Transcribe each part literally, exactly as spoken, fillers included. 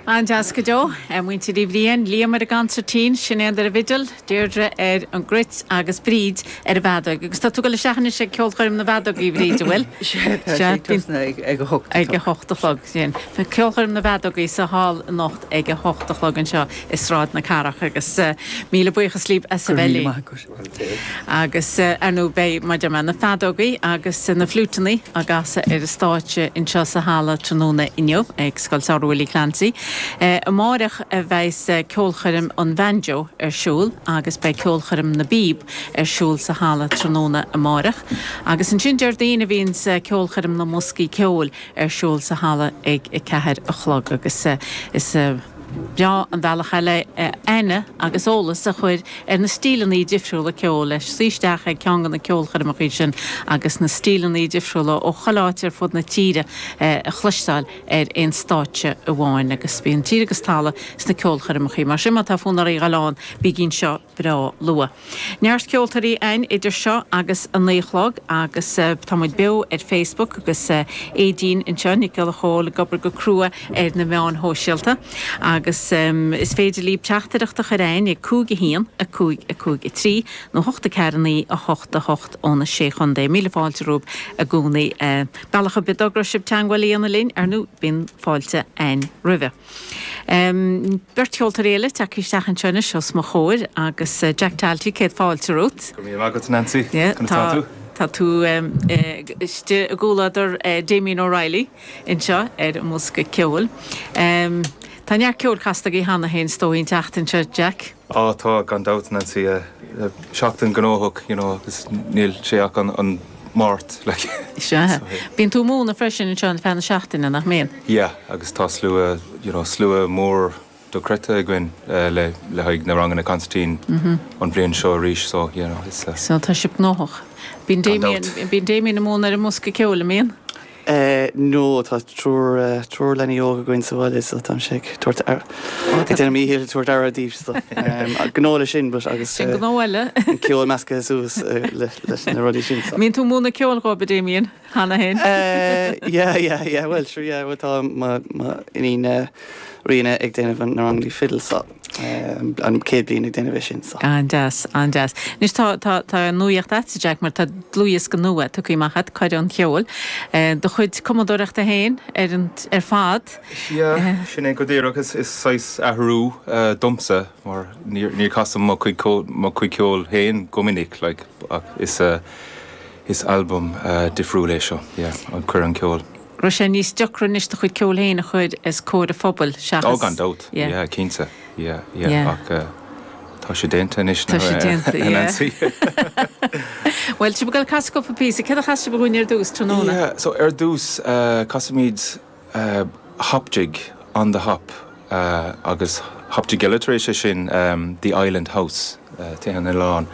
An-deas go deo, muintir Uí Bhriain, Liam ar an gconsairtín, Sinéad ar an bhfidil, Deirdre ar an gcruit agus Bríd ar an bhfeadóg. Agus tá tú ag dul isteach anois ag ceolchoirm na bhfeadógaí, Bríd, an bhfuil? Ag a hocht. Ag a hocht a chlog sin. Ceolchoirm na bhfeadógaí sa hall anocht ag a hocht a chlog anseo i Sráid na Cathrach agus míle buíochas libh as a bheith linn. Agus ar ndóigh beidh maidir le na feadógaí agus na fliúiteanna á gcasadh ar an stáitse anseo sa halla tráthnóna inniu ag Scoil Samhraidh Willie Clancy. Amárach a bheas ceolchoirm an bhanjo ar siúl agus beidh ceolchoirm na bpíob ar siúl sa halla tráthnóna amárach. Agus ansin Déardaoin a bhíonn ceolchoirm na mboscaí ceoil ar siúl sa halla ag a ceathair a chlog agus is breá an bealach eile aithne agus eolas a chur ar na stíleanna difriúla ceoil leis suí isteach ag ceann de na ceolchoirmeacha sin agus na stíleanna difriúla ó chuile áit ar fud na tíre a chloisteáil ar aon stáitse amháin agus bíonn tír agus talamh sna ceolchoirmeacha mar sin má tá fonn oraibh a ghabháil ann bígí anseo breá luath. Neart ceoltóirí ann idir seo agus a naoi a chlog agus tá muid beo ar Facebook agus Aideen anseo Nic Giolla Chóill ag obair go crua ar na meáin shóisialta agus um, is féidir libh teachtaireacht a chur chugainn ag cúig a haon a cúig a cúig a trí nó hocht a ceathair naoi a hocht a hocht óna sé chontae. Míle fáilte romhaibh i gcónaí bealach ar bith dá raibh sibh teagmháil a dhéanamh linn ar ndóigh bíonn fáilte againn roimhe. Um, Beirt cheoltóirí eile tagtha isteach anseo anois os mo chomhair agus uh, Jack Talty céad fáilte romhat. Go raibh agat Nancy Yeah, tá tú? Tá tú um, istigh i gcomhluadar uh, Damien O'Reilly anseo ar an mbosca ceoil. Um, Tá neart ceol casta agaibh cheana féin is dóigh an tseachtain seo Jack. Á tá gan dabht Nancy seachtain gnóthach you know, agus níl sé ach an, an Máirt like. Se. Bíonn tú ag múineadh freisin anseo ar feadh na seachtaine nach mbíonn. Yeah, agus tá slua you know, slua mór dochreidte againn uh, le le haghaidh na ranganna consairtín mm -hmm. an bhliain seo arís so you know, it's, uh, So tá sibh gnóthach. Bíonn Damien bíonn Damien ag múineadh ar an mbosca ceoil an mbíonn? Uh, no tá triúr uh, triúr leanaí óga againn sa bhaile so tá sé tabhairt ar déanaim mo dhícheall tabhairt aire dóibh so gnó le sin but agus Sin gnó eile. an ceol measctha suas uh, le leis na rudaí sin. So. Mbíonn tú ag múineadh ceoil dóibh Damien cheana féin. Uh, yeah, yeah, yeah, well, sure, yeah, well, tá ma ma iníon uh, Ríona ag déanamh an na ranganna fiddle so um, an chéad bliain ag déanamh sin so. An-deas an-deas. Anois tá tá tá nuacht agat Jack mar tá dlúthdhiosca nua tugtha amach agat Cuireadh an Cheoil. Do chuid cumadóireachta féin ar an ar fad. Yeah, sin é go díreach is is saghas athrú uh, domsa mar níor níor chasaim mo chuid mo chuid ceoil féin go minic like, ach is uh, is album uh, difriúil é seo yeah, an Cuireadh an Cheoil. Raibh sé níos deacra anois do chuid ceoil féin a chur os comhair an phobail seachas. Ó gan dabht Yeah. yeah, cinnte yeah, yeah, Yeah. ach uh, tá sé déanta anois Tá sé déanta, yeah. Nancy. Well sibh ag dul casadh cúpla píosa, céard a chas sibh dúinn ar dtús tráthnóna. Yeah, so ar dtús uh, casaimid uh, hop jig on the hop uh, agus hop jig eile tar éis sin um, the Island House uh, Tigh an Oileáin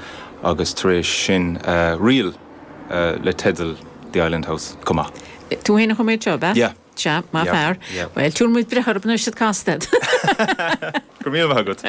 agus tar éis sin uh, ríl uh, le teideal the Island House chomh maith. Tú féin a chum iad seo, ab ea? Yeah. Sea, má Yeah, fear. yeah. Well, túr muid brecher op nu siad casted. Go míle agat.